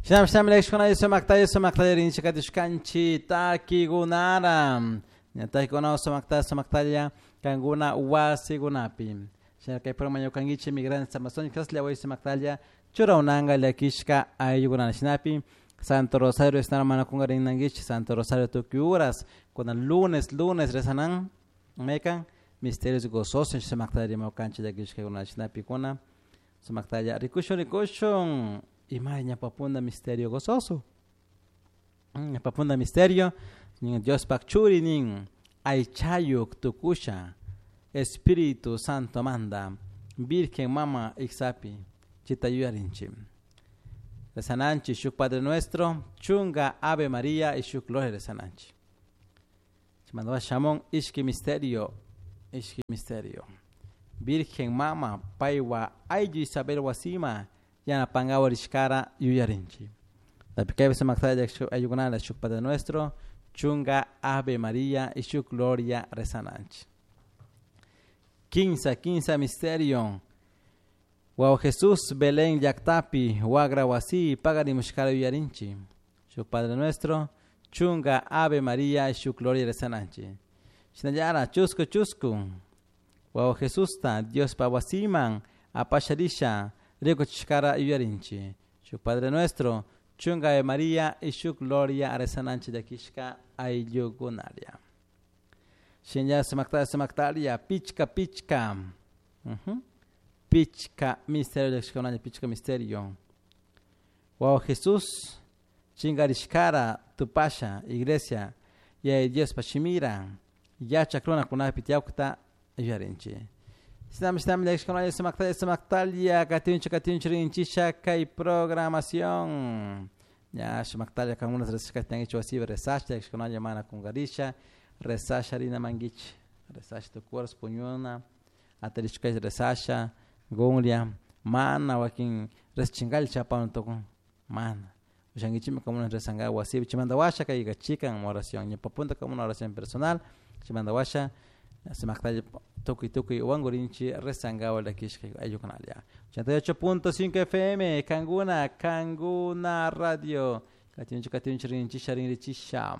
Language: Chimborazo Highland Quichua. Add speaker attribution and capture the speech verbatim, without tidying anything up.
Speaker 1: Shinam shinam llakishkuna sumaktalla sumaktalla rinchik katishkanchik takikunara. Takikuna sumaktalla sumaktalla kankuna wasikunapi. Shina kay programa ñukankichik Migrantes Amazónicos llaway sumaktalla churawnanka llakishka ayllukunana shinapi Santo Rosario estar mana kungarinankichik Santo Rosario tukuy horas kunan lunes lunes rezanan mekan misterios gozosos sumaktalla rimawkanchik llakishkakuna shinapi kuna sumaktalla rikushun rikushun ima ñawpapunda misterio gozoso ñawpapunda misterio nin Diospak churi nin aychayuk tukusha Espíritu Santo manda Virgen Mama iksapi chita yuyarinchik rezananchik shuk Padre Nuestro chunga Ave María y shuk Gloria rezananchik chaymanta shamun ishki misterio ishki misterio Virgen Mama paywa ayllu Isabel wasima yanapankawa rishkara yuyarinchik tapi kaypi sumaktalla ayllukunala shuk Padre Nuestro chunga Ave María y shuk Gloria rezananchik kinsa kinsa misterio Wawa Jesús Belén llaktapi wagra wasi pagarimushkara yuyarinchik shuk Padre Nuestro chunga Ave María y shuk Gloria rezananchik shinallara chusku chusku Wawa Jesusta Diospa wasiman apasharisha rikuchishkara yuyarinchik shuk Padre Nuestro chunga Ave María y shuk Gloria rezananchik llakishka ayllukunalla shinalla sumaktalla sumaktalla pichka pichka uh-huh. Pichka misterio llakishkakunalla pichka misterio Wawa Jesús chinkarishkara tupasha iglesia Yaya Diospa shimira yachak runakunapi tiyawkta yuyarinchik shinami shinami llakishkakunalla sumaktalla sumaktalla katinchik katinchik rinchisha kay programación ña sumaktalla kankuna rezashkata tiyankichik wasipi rezasha llakishkakunalla mana kunkarisha rezasha rina mankichik rezasha tukuy horas puñuna atarishkalla rezasha gunlla mana wakin rezashinkalla chapana tukun mana ushankichikmi kankuna rezankapak wasipi chaymanta washa kayka chikan oración ñawpa punta una oración personal chaymanta washa sumaktalla tukuy tukuy wankurinchik rezankapak llakishka ayllukunalla ochenta y ocho punto cinco F M Kankuna Kankuna Radio katinchik katinchik rinchisha rinrichisha.